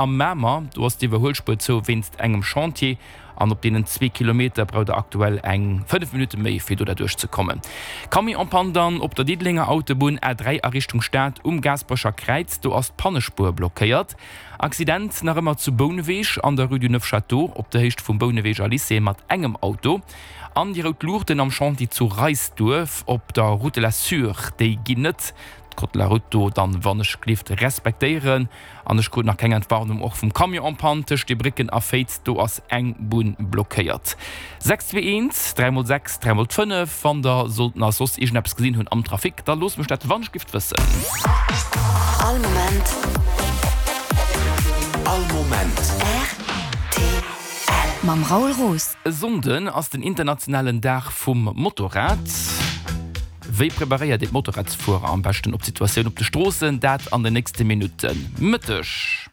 Am Mamer, do ass d'Iwwerhuelspuer zou wéinst engem Chantier an op deenen zwee Kilometer braucht der aktuell eng 5 Minutte méi fir do derduerch ze kommen. Camion en panne dann op der Diddelenger Autobunn A3 a Richtung Stad um Gaasperecher Kräiz, do ass d'Pannespuer blockéiert. Accident nach ëmmer zu Bouneweg an der Rue du Neuf-Château op der Héicht vum Bouneweger Lycée mat engem Auto. An déi rout Luuchten am Chantier zu Reisduerf op der Route de la Sûre, déi ginn net. D'Code de la Route do dann wann ech gelift respektéieren. An ech krut nach keng Entwarnung, och vum Camion en panne tëscht Dierbrécken a Féiz, do ass eng Bunn blockéiert. 6 2 1 3 mol 6 3 mol 5 Wann der sollt nach soss iergendeppes gesinn hunn am Trafic, da loosst mech dat wannechgift wëssen. All Moment. All Moment. Rtl. Mam Raoul Roos. E Sonnden ass den internationalen Dag vum Motorrad. Wéi preparéiert een d'Motorradsfuerer am beschten op d'Situatioun op de Stroossen? Dat an den nächste Minutten. Mëtteg.